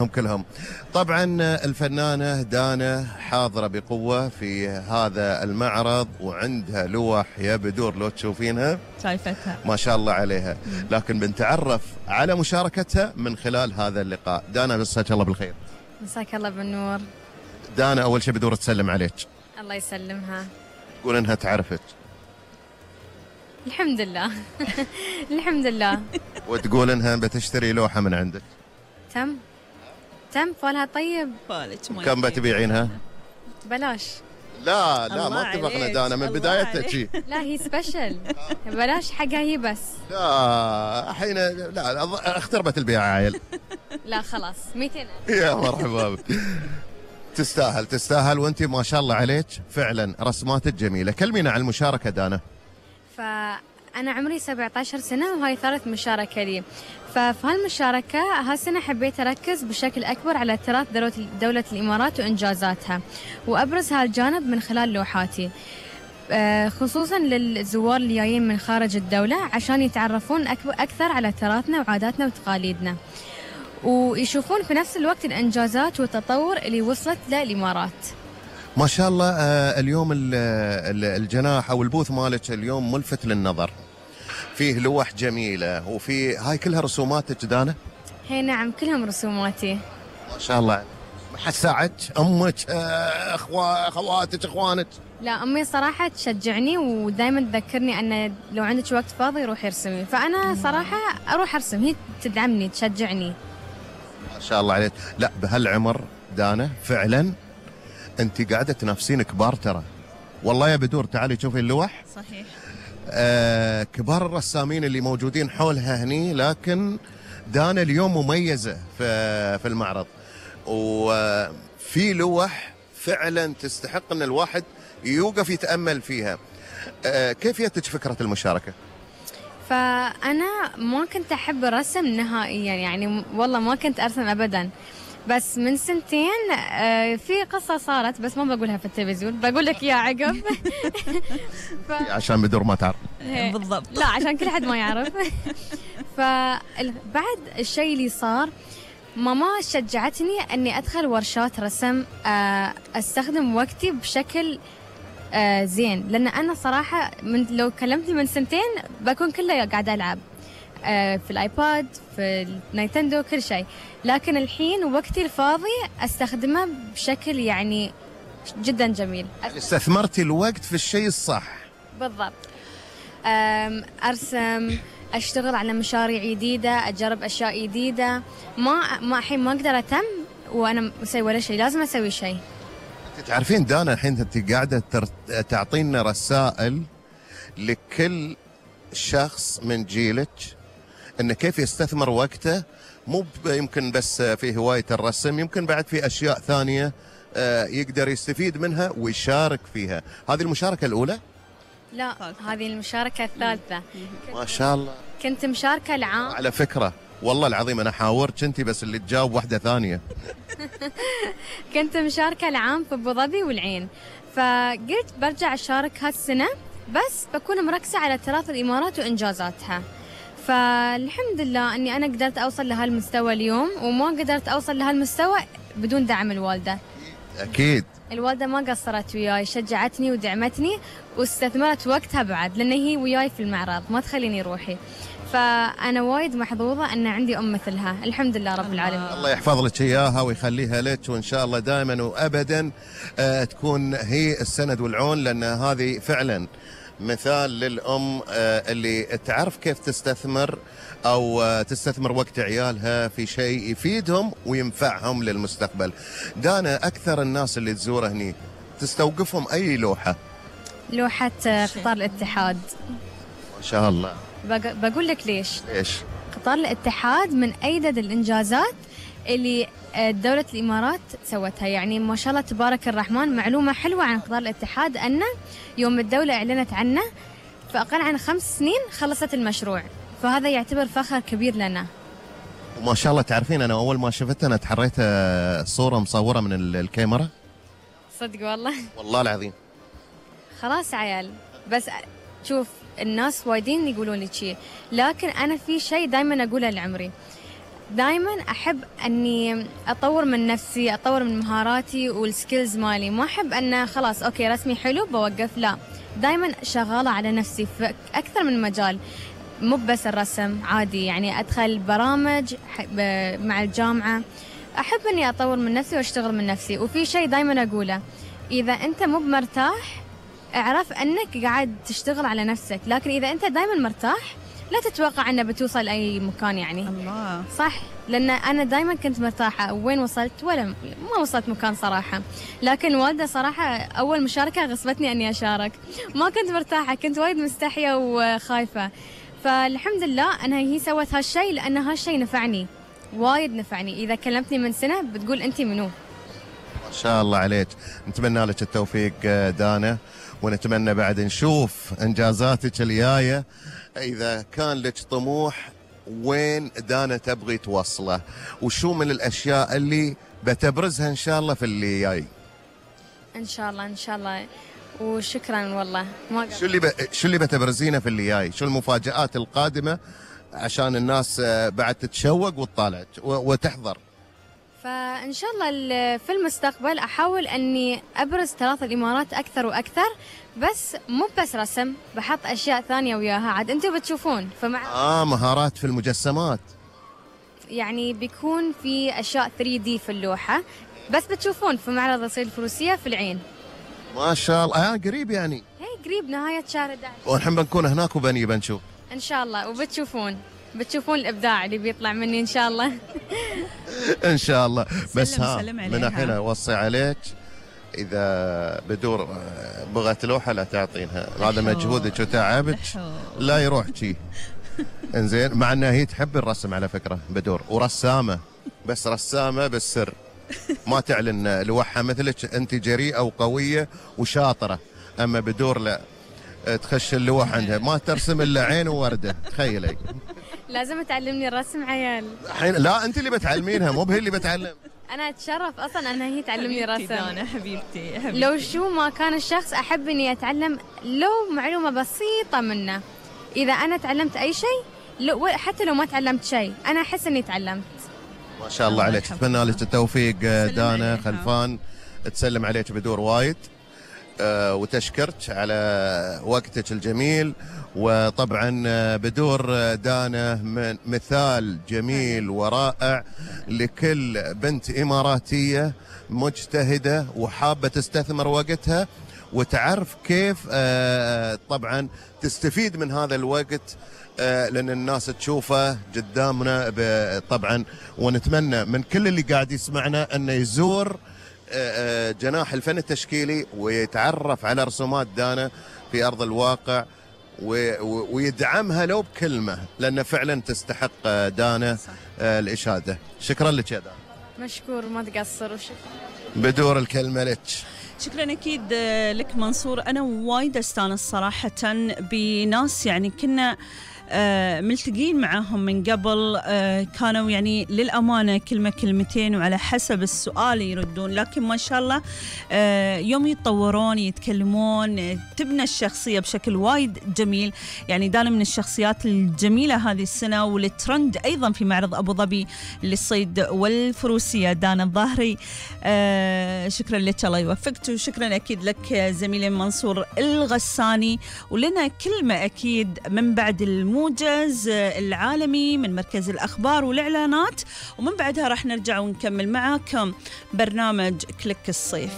هم كلهم. طبعا الفنانة دانا حاضرة بقوة في هذا المعرض وعندها لوح يا بدور لو تشوفينها شايفتها ما شاء الله عليها، لكن بنتعرف على مشاركتها من خلال هذا اللقاء. دانا مساك الله بالخير. مساك الله بالنور. دانا أول شيء بدور تسلم عليك. الله يسلمها. تقول إنها تعرفك. الحمد لله. الحمد لله. وتقول إنها بتشتري لوحة من عندك. تم فالها طيب. كم بتبيعينها؟ بلاش. لا ما اتفقنا دانا من بدايتها شي. لا هي سبيشل. بلاش حقها هي بس. لا الحين لا اختربت البيعة عيل. لا خلاص 200. يا مرحبا. تستاهل وانت ما شاء الله عليك فعلا رسماتك جميلة. كلمينا عن المشاركة دانا. فأنا عمري 17 سنة وهاي ثالث مشاركة لي. ففي هالمشاركة هالسنة حبيت أركز بشكل أكبر على تراث دولة الإمارات وإنجازاتها وأبرز هالجانب من خلال لوحاتي، خصوصا للزوار اللي جايين من خارج الدولة عشان يتعرفون أكثر على تراثنا وعاداتنا وتقاليدنا ويشوفون في نفس الوقت الإنجازات والتطور اللي وصلت للإمارات. ما شاء الله. اليوم الجناح أو البوث مالك اليوم ملفت للنظر، فيه لوح جميلة وفي هاي كلها رسوماتك دانا؟ هي نعم كلهم رسوماتي. ما شاء الله. ما حد ساعدك؟ أمك أخواتك أخوانك؟ لا أمي صراحة تشجعني ودائما تذكرني أن لو عندك وقت فاضي روحي ارسمي، فأنا صراحة أروح أرسم، هي تدعمني تشجعني. ما شاء الله عليك. لا بهالعمر دانا فعلا أنت قاعدة تنافسين كبار ترى. والله يا بدور تعالي شوفي اللوح. صحيح. كبار الرسامين اللي موجودين حولها هني، لكن دانا اليوم مميزة في المعرض وفي لوح فعلا تستحق أن الواحد يوقف يتأمل فيها. كيف جتك فكرة المشاركة؟ فأنا ما كنت أحب الرسم نهائيا، يعني والله ما كنت أرسم أبدا، بس من سنتين في قصة صارت بس ما بقولها في التلفزيون، بقول لك يا عقب. عشان بدور ما تعرف. بالضبط. لا عشان كل حد ما يعرف. فبعد الشيء اللي صار ماما شجعتني أني أدخل ورشات رسم، أستخدم وقتي بشكل زين، لأن أنا صراحة لو كلمتني من سنتين بكون كله قاعدة ألعب في الآيباد في النينتندو كل شيء، لكن الحين وقتي الفاضي أستخدمه بشكل يعني جدا جميل. استثمرتي الوقت في الشيء الصح. بالضبط. أرسم، أشتغل على مشاريع جديدة، أجرب أشياء جديدة. ما الحين ما أقدر أتم وأنا أسوي ولا شيء، لازم أسوي شيء. تعرفين دانا الحين أنت قاعدة تعطينا رسائل لكل شخص من جيلك إنه كيف يستثمر وقته، مو يمكن بس في هواية الرسم، يمكن بعد في أشياء ثانية يقدر يستفيد منها ويشارك فيها. هذه المشاركة الأولى؟ لا هذه المشاركة الثالثة. ما شاء الله. كنت مشاركة العام. على فكرة والله العظيم أنا حاورت أنت بس اللي تجاوب واحدة ثانية. كنت مشاركة العام في أبو ظبي والعين، فقلت برجع أشارك هالسنة بس بكون مركزة على تراث الإمارات وإنجازاتها. فالحمد لله أني أنا قدرت أوصل لهالمستوى اليوم، وما قدرت أوصل لهالمستوى بدون دعم الوالدة. أكيد. الوالدة ما قصرت وياي، شجعتني ودعمتني واستثمرت وقتها بعد، لأن هي وياي في المعرض ما تخليني روحي. فأنا وايد محظوظة أن عندي أم مثلها، الحمد لله رب العالمين. الله يحفظ لك إياها ويخليها لك، وإن شاء الله دائما وأبدا تكون هي السند والعون، لأن هذه فعلا مثال للأم اللي تعرف كيف تستثمر أو تستثمر وقت عيالها في شيء يفيدهم وينفعهم للمستقبل. دانا أكثر الناس اللي تزوره هني تستوقفهم أي لوحة؟ لوحة قطار الاتحاد. ما شاء الله. بقول لك ليش؟ قطار الاتحاد من أيدد الإنجازات اللي دولة الإمارات سوتها، يعني ما شاء الله تبارك الرحمن. معلومة حلوة عن قطار الاتحاد أنه يوم الدولة أعلنت عنه فأقل عن 5 سنين خلصت المشروع، فهذا يعتبر فخر كبير لنا. وما شاء الله تعرفين أنا أول ما شفتها أنا تحريت صورة مصورة من الكاميرا. صدق والله؟ والله العظيم. خلاص عيال، بس شوف الناس وايدين يقولون لي شيء، لكن أنا في شيء دائما أقوله لعمري، دائما أحب أني أطور من نفسي، أطور من مهاراتي والسكيلز مالي. ما أحب أن خلاص أوكي رسمي حلو بوقف، لا، دائما شغالة على نفسي في أكثر من مجال، مو بس الرسم، عادي يعني أدخل برامج مع الجامعة. أحب أني أطور من نفسي وأشتغل من نفسي. وفي شيء دائما أقوله، إذا أنت مو مرتاح اعرف أنك قاعد تشتغل على نفسك، لكن إذا أنت دائما مرتاح لا تتوقع أنه بتوصل أي مكان. يعني الله صح، لأن أنا دائما كنت مرتاحة، وين وصلت ولا ما وصلت مكان صراحة. لكن والدة صراحة أول مشاركة غصبتني أني أشارك، ما كنت مرتاحة، كنت وايد مستحية وخايفة. فالحمد لله أنها هي سوت هالشيء، لأن هالشيء نفعني وايد، نفعني. إذا كلمتني من سنة بتقول أنتي منو. ما شاء الله عليك. نتمنى لك التوفيق دانا، ونتمنى بعد نشوف إنجازاتك الجاية. إذا كان لك طموح وين دانا تبغي توصله، وشو من الأشياء اللي بتبرزها إن شاء الله في اللي جاي؟ إن شاء الله إن شاء الله. وشكرا والله. شو اللي بتبرزينه في اللي جاي؟ شو المفاجآت القادمة عشان الناس بعد تتشوق وتطالع وتحضر؟ فإن شاء الله في المستقبل أحاول أني أبرز تراث الإمارات أكثر وأكثر، بس مو بس رسم، بحط أشياء ثانية وياها عاد أنتوا بتشوفون. مهارات في المجسمات، يعني بيكون في أشياء 3D في اللوحة، بس بتشوفون في معرض الصيد الفروسية في العين. ما شاء الله. قريب يعني؟ هي قريب، نهاية شهر 11. ونحن بنكون هناك بنشوف إن شاء الله، وبتشوفون الإبداع اللي بيطلع مني إن شاء الله. إن شاء الله. بس من الحين أوصي عليك، إذا بدور بغت لوحة لا تعطينها، هذا مجهودك وتعبك لا يروح شي. إنزين، مع أنها هي تحب الرسم على فكرة بدور، ورسامة، بس رسامة بالسر، ما تعلن لوحة مثلك. أنت جريئة وقوية وشاطرة، أما بدور لا، تخش اللوح عندها ما ترسم إلا عين ووردة. تخيلي. لازم تعلمني الرسم عيال. الحين لا، أنت اللي بتعلمينها مو بهي اللي بتعلم. أنا أتشرف أصلاً أنها هي تعلمني الرسم. أنا حبيبتي. لو شو ما كان الشخص أحب إني أتعلم لو معلومة بسيطة منه. إذا أنا تعلمت أي شيء، حتى لو ما تعلمت شيء، أنا أحس إني تعلمت. ما شاء الله عليك. أتمنى لك التوفيق دانا خلفان. تسلم عليك بدور وايد، وتشكرك على وقتك الجميل. وطبعا بدور دانا من مثال جميل ورائع لكل بنت إماراتية مجتهدة وحابة تستثمر وقتها وتعرف كيف طبعا تستفيد من هذا الوقت، لأن الناس تشوفه قدامنا طبعا. ونتمنى من كل اللي قاعد يسمعنا أنه يزور جناح الفن التشكيلي ويتعرف على رسومات دانا في أرض الواقع، ويدعمها لو بكلمة، لأن فعلا تستحق دانا الإشادة. شكرا لك يا دانا. مشكور، ما تقصر. وشكرا. بدور الكلمة لك. شكرا أكيد لك منصور. أنا وايد أستانس صراحة بناس يعني كنا ملتقين معهم من قبل، كانوا يعني للأمانة كلمة كلمتين وعلى حسب السؤال يردون، لكن ما شاء الله يوم يتطورون يتكلمون تبنى الشخصية بشكل وايد جميل. يعني دانا من الشخصيات الجميلة هذه السنة، والترند أيضا في معرض أبو ظبي للصيد والفروسية دانا الظاهري. شكرا لك، الله يوفقك. وشكرا أكيد لك زميلي منصور الغساني. ولنا كلمة أكيد من بعد الموجز العالمي من مركز الأخبار والإعلانات، ومن بعدها راح نرجع ونكمل معاكم برنامج كليك الصيف.